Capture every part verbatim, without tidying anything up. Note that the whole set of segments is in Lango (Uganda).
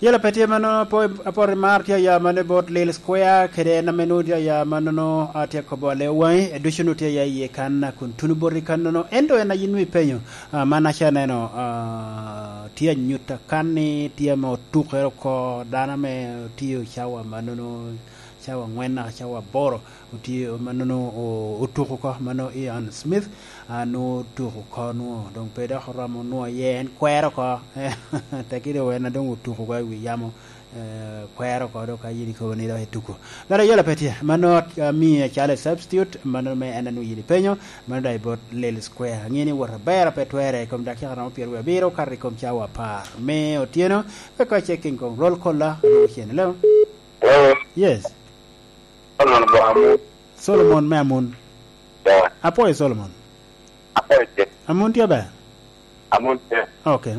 Yela pe tye mannono, apo-, apoto i mar tye aya manno i bot Lil Square, kede en ame nwoŋo tye aya mannono, a, tye akobo ale waŋi, e ducu nwoŋo tye aya iye kan, a, kun tuno boti kannono. Ento en a yin nwoŋo ipenyo, a, man aca aneno, a, tye anyut akan ni tye ame otukere oko, dano ame otiyo cawa mannono, cawa angwen naka cawa aboro. Otye mannono o-, otuko oko, mano Ian Smith, a, nwoŋo otuko oko nwoŋo, doŋ pe dok oromo nwoŋo aye en kwero oko. Tekki doŋ en a doŋ otuko oko i wi yamo, eh, kwero oko, dok ka yin ikobo ni dok etuko. Mere yola pe tye, mano, a, mie acalo substitute, mano me en a nwoŋo yin ipenyo, mano daŋ i bot Lil Square. Aŋeo ni wot aber a pe twerre, i kom dakika romo pyeraryo abiro, kato i kom cawa apar me otyeno, wek ka checking kom roll caller, adwogo cen. Hello? Hello? Yes. Solomon Boamun. Solomon me Amun. Yeah. Apwoyo Solomon. Apwoyo tye. Amun tye ber? Amun tye. Okay.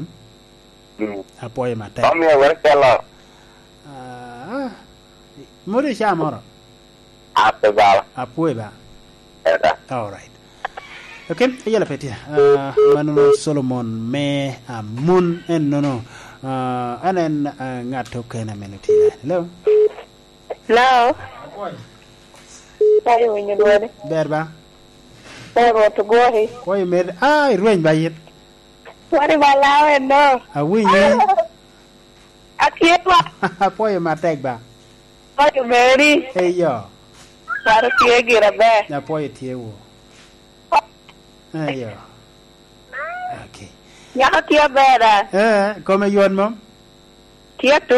Mm. Apwoyo matek. Omiyo wek calo. Ah, modi ca moro? Ape bala. Apwoyo ba. Eda. All right. Okay, ayela pe tye. Ah, mano Solomon me Amun en nono. Ah, en en, ah, ngat okene a meno tye. Hello? Hello? Ka iwinyo dwoni. Ber ba? Ber, Rwot ogwokki. Kwa i med, ah, irweny ba yin. Wari ba lawo eno. Awinyi. Atye ba. Apwoyo matek ba. Apwoyo meri. Eyo. Wari tye gira ber. Apwoyo tye wo. Eyo. Okay. Nyako tye aber, a? Eh, kome yot mom? Tye atuk.